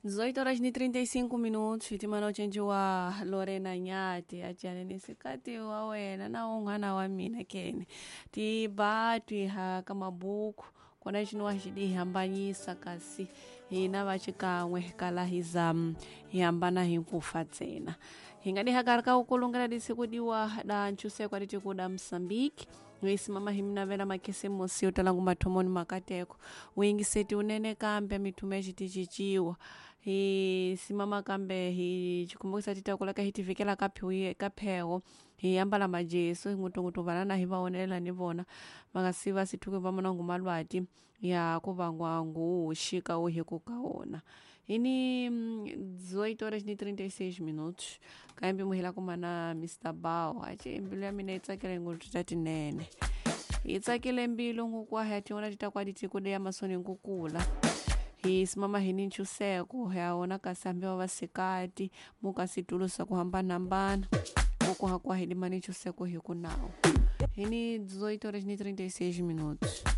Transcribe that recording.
18 horas ni 35 minutos hitimana ucenjiwa Lorena Nyati aciane sikati wa wena na un'wana wa mina kene tiba twiha ka mabuku kona xino wa xi di hambanyisa kasi hina va xikan'we kala hi za hi hambana hi nkufa ntsena hi nga diha ka ukulungela disiku diwa da nchuseko aditi da Msambiki isimama hi minavela makhisimusi yo tala ngumathomoni makateko wingiseti unene kambe mithume ya xiticinciwa hi simama kambe hi xikumbukisa titakulaka hi tivikela ka ka pheho hi ambala majesu hi ngutungutu vanana hi va onelela ni vona va nga si va sithuke va mona ngumalwati ya ku vangwa nguxika wu hi ku ka wona hi ni 18 horas ni 36 minutos kambe muhela kumana Mr Bao ace mbilu ya mina yi tsakile ngopfu ta tinene yi tsakile mbilu ngukwa ya tin'wana ti ta kwa ditiko ya masoni ngukula hi simama hi ni nchuseko ya wona kasi hambi va vasikati muka situlo swa ku hambanahambana muku hakwa hi limani nchuseko hi ku nawu hi ni 18 horas ni 36 minutos.